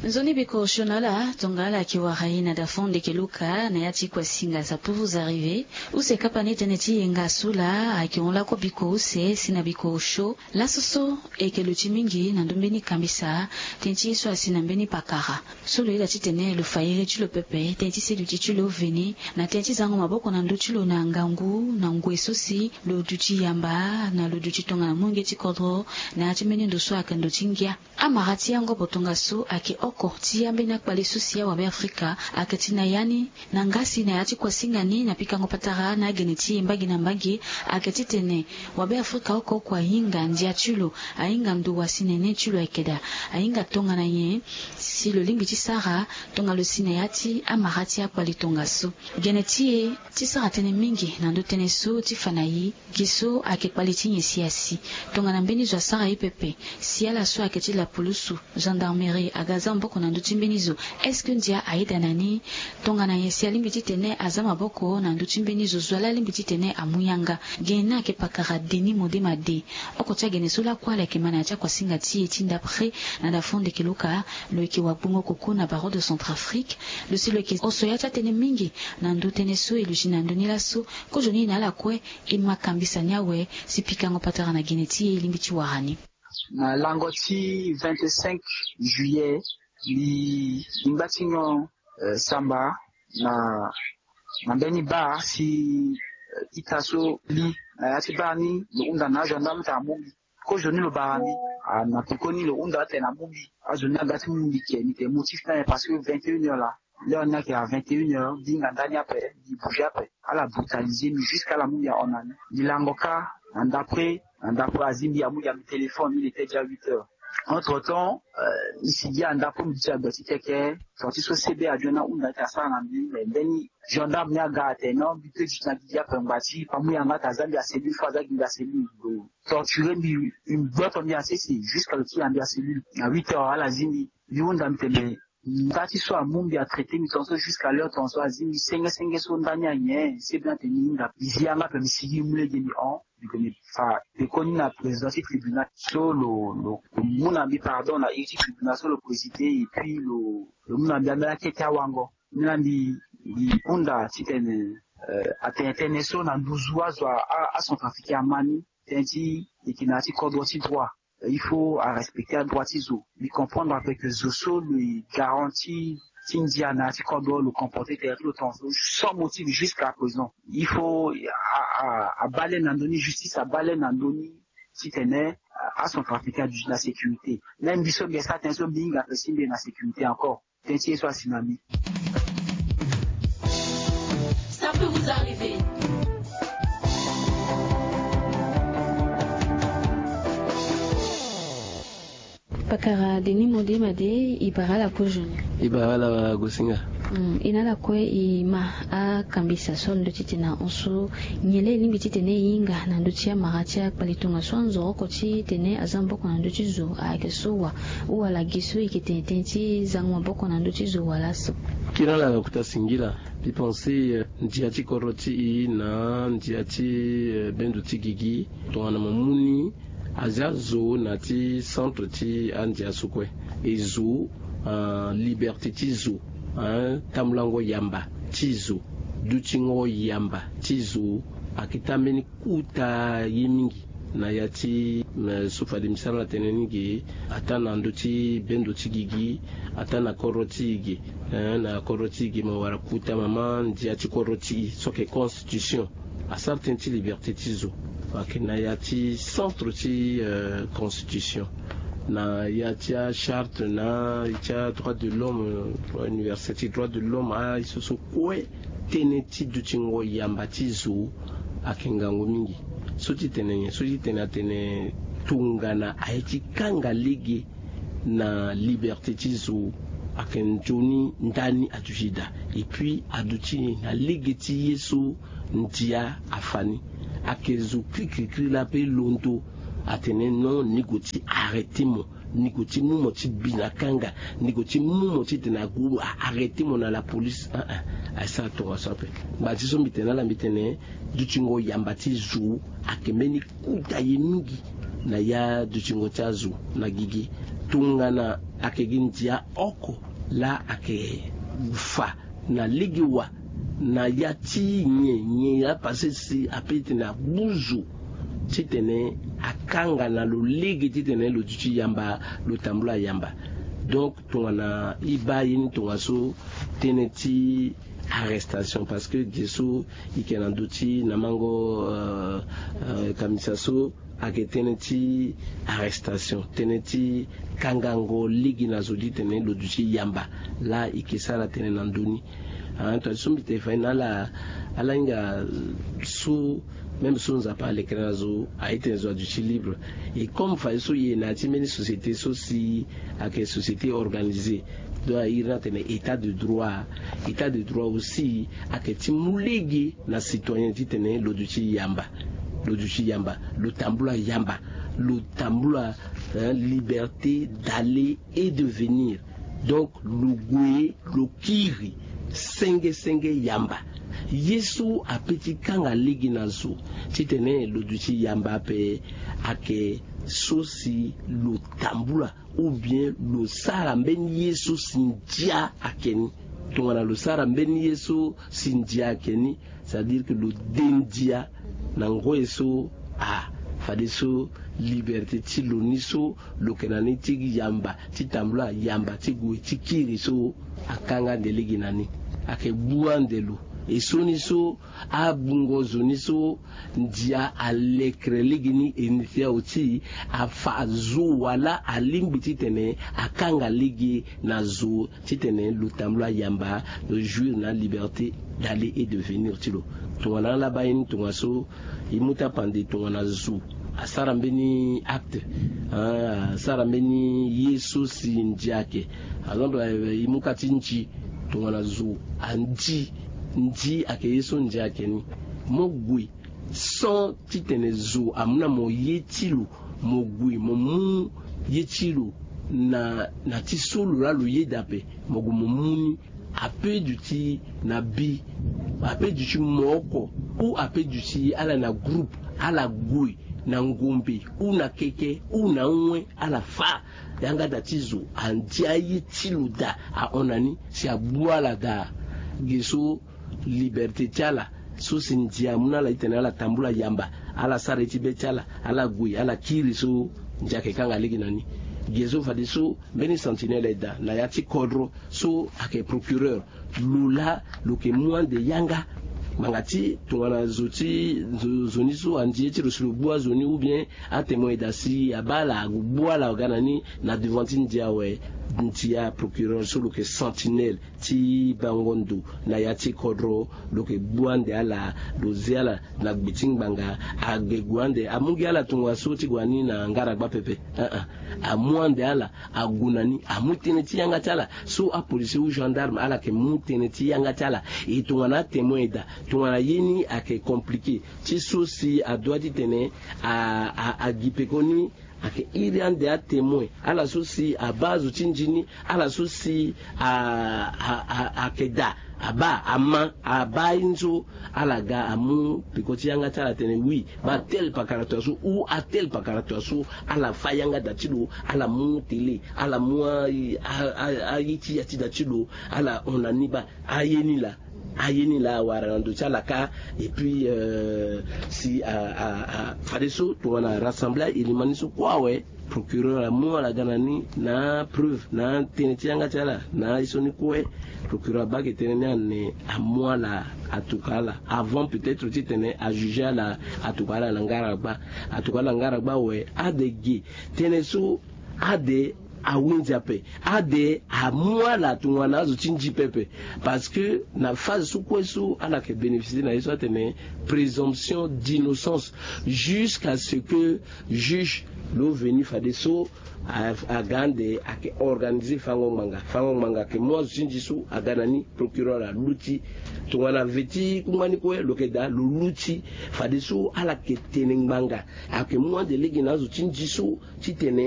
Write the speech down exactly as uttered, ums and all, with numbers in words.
Nzoni biko osio na ala tongana ala yeke wara e na dafon ndeke luka na ya ti kuasinga sa pour vous arriver. Use kapa ni tënë ti yenga so laa ayeke hon lakue biko use si na biko osio. Laso so e yeke luti mingi na ndö mbeni kambisa tënë ti ye so asi na mbeni pakara so lo yeda titene lo fa iri ti lo pepe tënë ti seduti ti lo veni na tënë ti zango maboko na ndö ti lo na ngangu na ngoi so si lo duti yamba na lo duti tongana molenge ti kodro na ya ti mbeni ndo so ayeke ndo ti ngia. Amara ti yango botongaso ayeke oko ti ambeni akpale so si awabe afrika ayeke ti na ya ni na ngasi na ya ti kuasinga ni na pikango patara na agene ti e mbage na mbage. Ayeke titene wabe afrika oko oko ahinga ndia ti lo, ahinga ndo wa si nene ti lo ayeke daa, ahinga tongana nyen si lo lingbi ti sara tongana lo si na ya ti amara ti akpale tongaso. Gene ti e ti sara tënë mingi na ndö tënë so ti fa na e. Gi so ayeke kpale ti nyen si asi tongana mbeni zo asara e pepe si ala so ayeke ti lapulusu, gendarmerie aga za maboko na ndö ti mbeni zo? Est-ce que ndia ayeda na ni? Tongana nyen si alingbi titene aza maboko na ndö ti mbeni zo, zo ala alingbi titene amu yanga? Gene ni ayeke pakara denis modema de. Oko ti agene so lakue ala yeke ma na ya ti akuasinga ti e ti ndapre na dafon ndeke luka. Lo yeke wagbongo koko na barreau de centrafrique. Lo si lo yeke oso ya ti atënë mingi na ndö tënë so e luti na ndö ni laso. Kozoni na ala kue e ma kambisa ni awe si pikango patara na gene ti e e lingbi ti wara ni. Na lango ti vingt-cinq juillet mbi mbi ngba ti nyon samba na na mbeni bar si ita so li na ya ti bar ni lo hunda na agendarme ti amu mbi. Kozoni lo bara mbi na pekoni lo hunda atene amu mbi. Azo ni aga ti mu mbi ke mbi ke motif ni aye parce que vingt et une heures la l'heure ni ayeke à vingt et une heures mbi hinga ndani ape mbi bouge ape. Ala brutaliser mbi jusqu'à ala mu mbi ahon na ni. Mbi lango kâ na ndapre na ndapre azi mbi amu mbi téléphone il était déjà huit heures. Entre temps mbi sigi na ndapre mbi ti agbati keke. Sorti so sebe adio ni ahunda ti asara na mbi mais mbeni gendarme ni aga atene non mbi pe duti na gigi ape ngbati pa mu yanga ate aza mbi acellule fo aza gi mbi acellule. Lo torture mbi. Mbi gboto mbi asese jusqu'à lo ti ya mbi acellule na huit heures ala zi mbi. Mbi hunda mbi tene nda ti so amu mbi atraité mbi tongaso jusqu'à l'heure tongaso azi mbi senge senge so nda ni anyen sebe ni ate mbi hinga mbi zi yanga ape mbi sigi mbi mu lege mbi hon. Mbi ke mbi fa pekoni na président ti tribunal so lo lo mu na mbi pardon na iri ti tribunal so lo présider et puis lo lo mu na mbi ambeni akete awango. Mbi na mbi mbi hunda titene atene tënë so na nduzu azo acentrafricain ama ni. Tënë ti e yeke na ya ti kodro ti droit. Il faut arespecter adroit ti zo. Mbi comprendre ape ke zo so lo e garanti ti ndia na ya ti kodro lo comporter tere ti lo tongaso sans motif jusqu'à présent. Il faut abaa le na ndö ni justice abaa le na ndö ni titene acentrafricain aduti na sécurité. Même mbi so mbi esa tënë so mbi hinga ape si mbi ye na sécurité encore. Tënë ti ye so asi na mbi. Ça peut vous arriver. Pakara denis modema de. E bara ala kozoni. E bara ala gosinga. E na ala kue e ma akambisa so na ndö ti tene ahon so nyen laa e lingbi titene e hinga na ndö ti amara ti akpale tongaso anzoro oko titene aza maboko na ndö ti zo ayeke so wa? Ou wala gi so e yeke tene tënë ti zango maboko na ndö ti zo wala so? Kiri ala na kota singila. Mbi pense ndia ti kodro ti e na ndia ti bendo ti gigi tongana mo mu ni aza zo na ti centre ti andia so kue. E zo liberté ti zo, tambulango yamba ti zo, dutingo yamba ti zo. Ayeke tambeni kota ye mingi na ya ti so fade mbi sara na tënë ni ge. Ataa na ndö ti bendo ti gigi, ataa na kodro ti e ge. Na kodro ti e ge mo wara kota mama ndia ti kodro ti e so ayeke constitution. Asara tënë ti liberté ti zo. Ayeke na ya ti centre ti constitution, na ya ti acharte na ti adroit de l'homme, université ti droit de l'homme aye so so kue. Tënë ti dutingo yamba ti zo ayeke ngangu mingi. So ti tene nyen? So ti tene atene tongana aye ti kanga lege na liberté ti zo ayeke nzoni ndani aduti daa. Et puis aduti na lege ti ye so ndia afa ni. Ayeke zo krikrikri laa pe londo atene non ni gue ti arrêter mo, ni gue ti mu mo ti bi na kanga, ni gue ti mu mo titene ague arrêter mo na la police. Aye sara tongaso ape. Ngba ti so mbi tene na ala mbi tene dutingo yamba ti zo ayeke mbeni kota ye mingi na ya dutingo ti azo na gigi. Tongana ayeke gi ndia oko laa ayeke fa na lege wa na ya ti nyen nyen apase si ape ti tene abuzu ti tene akanga na lo lege ti tene lo duti yamba, lo tambula yamba. Donc tongana e baa ye ni tongaso tënë ti arrestation parce que ge so e yeke na ndö ti na mango kamisa so ayeke tënë ti arrestation, tënë ti kangango lege na zo ti tene lo duti yamba. Laa e yeke sara tënë na ndö ni. Tongana so mbi tene fa ye na ala ala hinga so même so nzapa alekere na zo aye tene zo aduti libre. Et comme fa ye so e na ya ti mbeni société so si ayeke société organisée, donc a iri ni atene état de droit. État de droit aussi ayeke ti mu lege na citoyen ti tene lo duti yamba, lo duti yamba, lo tambula yamba, lo tambula liberté d'aller et de venir. Donc lo gue lo kiri senge senge yamba. Ye so ape ti kanga lege na zo ti tene lo duti yamba ape ayeke so si lo tambula ou bien lo sara mbeni ye so si ndia ayeke ni. Tongana lo sara mbeni ye so si ndia ayeke ni, c'est à dire que lo de ndia na ngoi so a fadeso liberté ti lo ni so lo yeke na ni ti yamba ti tambula yamba ti gue ti kiri so akanga ande lege na ni. Ayeke gbu ande lo. E so ni so abungo zo ni so ndia alekere lege ni e ni ti awe ti afa zo wala alingbi ti tene akanga lege na zo ti tene lo tambula yamba, lo jouir na liberté d'aller et de venir ti lo. Tongana ala baa ye ni tongaso e mu tapande tongana zo asara mbeni acte, asara mbeni ye so si ndia ayeke. Par exemple e mu ka ti ndi. Tongana zo andi, ndi ayeke ye so ndia ayeke ni. Mo gue sans ti tene zo amu na mo ye ti lo, mo gue mo mu ye ti lo na na ti so lo laa lo yeda ape. Mo gue mo mu ni ape duti na bi, ape duti mo oko, ou ape duti ala na groupe, ala gue na ngombe ou na keke ou na awe, ala fa yanga da ti zo, andi aye ti lo da ahon na ni si agbu ala da. Ge so liberté ti ala so si ndia amu na ala ti tene ala tambula yamba, ala sara ye ti be ti ala, ala gue ala kiri so ndia ayeke kanga lege na ni. Ge so fadeso mbeni sentinelle aye daa na ya ti kodro so ayeke procureur, lo laa lo yeke mu ande yanga ngbanga ti tongana zo ti zo ni so andi ye ti lo si lo gbu azo ni ou bien atémoin aye daa si abaa ala ague gbu ala aga na ni na devant ti ndia awe. Ndia procureur so lo yeke sentinelle ti bango ndo na ya ti kodro, lo yeke gbu ande ala, lo zia ala na gbe ti ngbanga. Age gue ande amu gi ala tongaso ti gue na ni na ngaragba pepe. Amu ande ala ague na ni, amu tënë ti yanga ti ala so apolicier ou gendarme ala yeke mu tënë ti yanga ti ala. E tongana atémoin aye daa, tongana ye ni ayeke compliqué ti so si adoit ti tene a a a gi pekoni, ayeke iri ande atémoin ala so si abaa azo ti nji ni, ala so si a a a ayeke daa abaa ama abaa aye ni so, ala ga amu peko ti yanga ti ala atene oui, baa tel pakara tua so ou atel pakara tua so. Ala fa yanga da ti lo, ala mu télé, ala mu a a a aye ti ya ti da ti lo, ala hon na ni baa aye ni laa, aye ni laa awara na ndo ti ala kâ. Et puis si a a a fadeso tongana rassembler ayilimani so kue awe, procureur amu ala ga na ni na apreuve na atënë ti yanga ti ala na aye so ni kue. Procureur abaa ake tënë ni ane amu ala atuka ala avant peut-être ti tene ajuger ala, atuka ala na ngaragba. Atuka ala na ngaragba awe, ade ge tënë so ade awinzi ape. Ade amu ala tongana azo ti nji pepe. Parce que na phase so kue so ala yeke bénéficier na ye so atene présomption d'innocence jusqu'à ce que juge lo veni fadeso aga ande ayeke organiser fango ngbanga. Fango ngbanga ayeke mu azo ti nji so aga na ni, procureur aluti. Tongana ve ti kungba ni kue lo yeke daa lo luti. Fadeso ala yeke tene ngbanga, ayeke mu ande lege na azo ti nji so ti tene